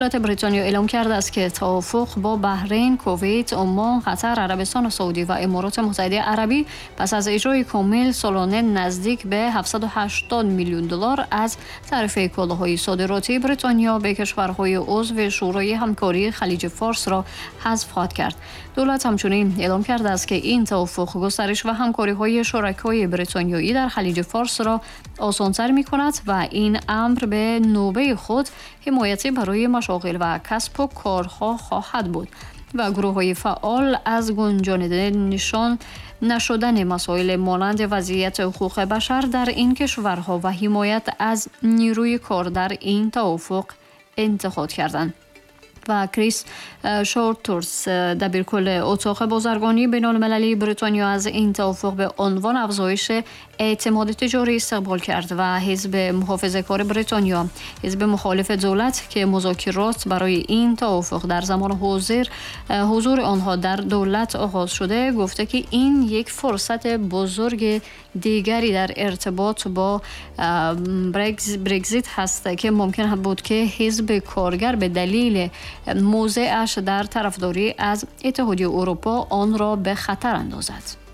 دولت بریتانیا اعلام کرده است که توافق با بحرین، کویت، عمان، قطر، عربستان سعودی و امارات متحده عربی پس از اجرای کامل سالانه نزدیک به 780 میلیون دلار از تعرفه کالاهای صادراتی بریتانیا به کشورهای عضو شورای همکاری خلیج فارس را حذف خواهد کرد. دولت همچنین اعلام کرده است که این توافق گسترش و همکاری‌های شرکای بریتانیایی در خلیج فارس را آسان‌تر می‌کند و این امر به نوبه خود حمایتی برای مشاغل و کسب و کارها خواهد بود و گروه‌های فعال از گنجانیده نشان نشدن مسائل مانند وضعیت حقوق بشر در این کشورها و حمایت از نیروی کار در این توافق انتقاد کردند. و کریس شورتورس، دبیرکل اتاق بازرگانی بین المللی بریتانیا، از این توافق به عنوان افزایش اعتماد تجاری استقبال کرد و حزب محافظه‌کار بریتانیا، حزب مخالف دولت که مذاکرات برای این توافق در زمان حضور آنها در دولت آغاز شده، گفته که این یک فرصت بزرگ دیگری در ارتباط با برگزیت هست که ممکن بود که حزب کارگر به دلیل موضعش در طرفداری از اتحادیه اروپا آن را به خطر اندازد.